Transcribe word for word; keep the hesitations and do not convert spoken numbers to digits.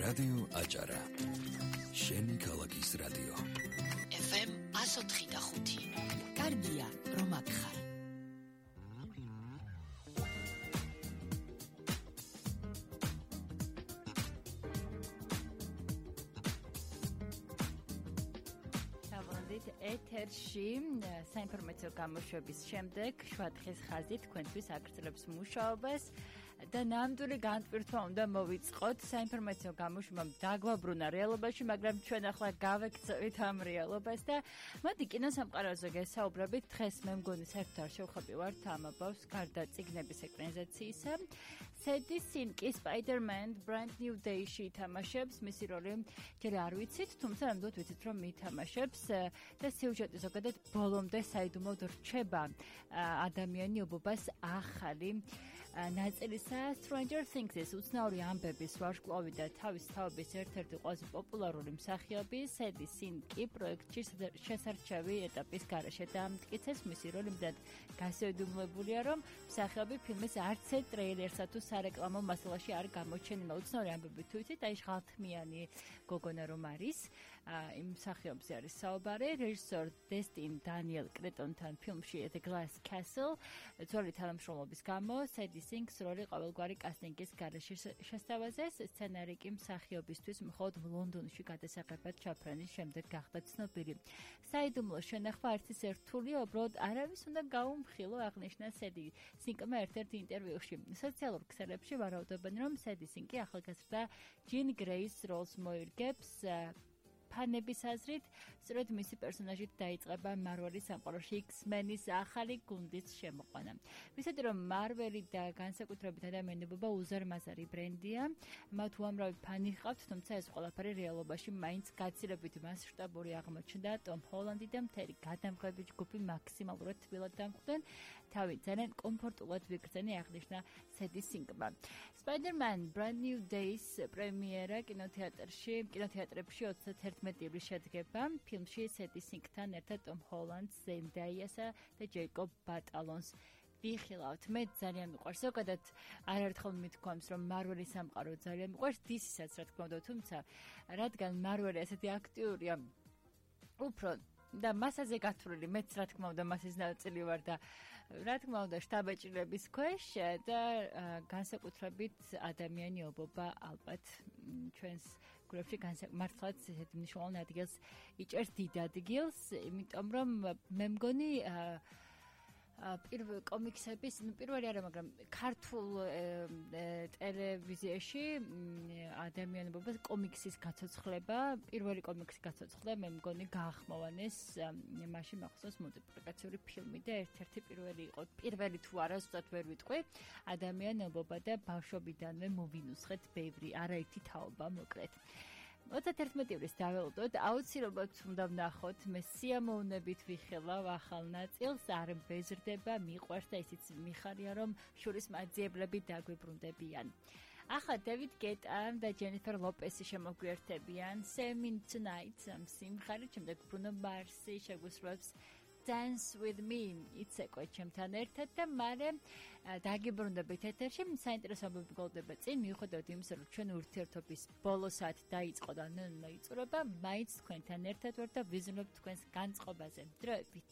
რადიო აჭარა. შენი ქალაქის რადიო. ეფ ემ one oh three point five. კარგია, რომ აქ ხარ. ეთერში საინფორმაციო გამოშვების შემდეგ შვადხის ხაზი თქვენთვის აგრძელებს მუშაობას და ნამდვილი განტვირთვა უნდა მოვიწყოთ საინფორმაციო გამოშვებამ დაგვაბრუნა რეალობაში, მაგრამ ჩვენ ახლა გავექცევით ამ რეალობას და მოდი კინოსამყაროზე გესაუბრებით. დღეს მე მგონი საერთოდ არ შევხები ვართ ამ აბავს გარდა წიგნების ეკრანიზაციისა. სედი სინკი Spider-Man Brand New Day-ში ითამაშებს, მისი როლი ჯერ არ ვიცით, თუმცა ნამდვილად ვიცით, რომ ითამაშებს და სიუჟეტი ზოგადად ბოლომდე საიდუმლოდ რჩება ადამიანი ობობას ახალი ნაწილისა Stranger Things-ის უცნაური ამბების ვარსკვლავი და თავის თაობის ერთ-ერთი ყველაზე პოპულარული მსახიობი სედი სინკი პროექტში შესარჩევი ეტაპის გარეშე დაამტკიცეს. მისი როლი მდად გასაიდუმლოებულია, რომ მსახიობი ფილმის არც ერთ ტრეილერსა თუ სარეკლამო მასალაში არ გამოჩენილა. უცნაური ამბები თუ იცით, აი ღალთმიანი გოგონა რომ არის, იმ მსახიობზე არის საუბარი. რეჟისორ დესტინ დანიელ კრეტონთან ფილმში The Glass Castle ძველი თანამშრომლობის გამო სედი სინკს როლი ყოველგვარი კასტინგის გარეშე შესთავაზეს. სცენარი კი მსახიობისთვის მხოლოდ ლონდონში გადასაღებად ჩაფრენის შემდეგ გახდა ცნობილი. საიდუმლო შენახვა არც ის ერთულია, უბრალოდ არავის უნდა გაუმხილო, აღნიშნა სედი სინკმა ერთ-ერთ ინტერვიუში. სოციალურ ქსელებში ვარაუდობენ, რომ სედი სინკი ახალგაზრდა ჯინ გრეის როლს მოირგებს. ფანების აზრით, სწორედ მისი პერსონაჟით დაიწყება მარველის სამყაროში X-Men-ის ახალი გუნდის შემოყვანა. ვისადი რომ მარველი და განსაკუთრებით ადამიანობა უზარმაზარი ბრენდია, მათ უამრავი ფანი ჰყავთ, თუმცა ეს ყველაფერი რეალობაში მაინც გაცილებით მასშტაბური აღმოჩნდა. ტომ ჰოლანდი და მთელი გადამღები ჯგუფი მაქსიმალურად თბილად დამხვდნენ, თავი ძალიან კომფორტულად ვიგრძენი, აღნიშნა სედი სინკმა. Spider-Man Brand New Day-ის პრემიერა კინოთეატრში, კინოთეატრებში ოცდაერთი ივლის შედგება. ფილმში სედი სინკთან ერთად ტომ ჰოლანდს, ზენდაიასა და ჯეიკობ ბატალონს ვიხილავთ. მე ძალიან მიყვარს. ზოგადად არაერთხელ მithქვამს, რომ მარველის სამყარო ძალიან მიყვარს, დისისაც რა თქმა უნდა, თუმცა რადგან მარველი ასეთი აქტიურია, უფრო და მასაზე გათვლილი, მეც რა თქმა უნდა მასის ნაწილი ვარ და რა თქმა უნდა შტაბეჭდილების ქვეშ და განსაკუთრებით ადამიანი ობობა ალბათ ჩვენს გულებში მართლაც ესეთი მნიშვნელოვანი ადგილს იჭერს, დიდ ადგილს, იმიტომ რომ მე მგონი პირველ კომიქსების, ნუ პირველი არა, მაგრამ ქართულ ტელევიზიაში ადამიანობობას კომიქსის გაცოცხლება, პირველი კომიქსის გაცოცხლება მე მგონი გაახმოვანეს, მაშინ მახსოვს მულტიპლიკაციური ფილმი და ერთ-ერთი პირველი იყო, პირველი თუ არა, ზუსტად ვერ ვიტყვი, ადამიანობა და ბავშვობიდანვე მოვინუსხეთ ბევრი, არაერთი თაობა მოკლედ. ოცდაერთი ივლის დაველოდოთ, აუცილებლად უნდა ვნახოთ, მე სიამოვნებით ვიხილავ ახალ ნაწილს, არ მბეზრდება, მიყვარს და ისიც მიხარია, რომ შურის მაძიებლები დაგვიბრუნდებიან. ახლა დევიდ გეტა და ჯენიფერ ლოპესი შემოგვიერთებიან Same in Tonight სიმღერით, შემდეგ ბრუნო მარსი შეგუსრულებს Dance with me, იცეკვე ჩემთან ერთად და მალე დაგიბრუნდებით ეთერში. საინტერესო ამბები გოლდება წინ, მიუხედავად იმისა, რომ ჩვენ ურთიერთობის ბოლო საათი დაიწყო და ნუ იწურება, მაინც თქვენთან ერთად ვარ და ვიზრუნებ თქვენს განწყობაზე. დროებით.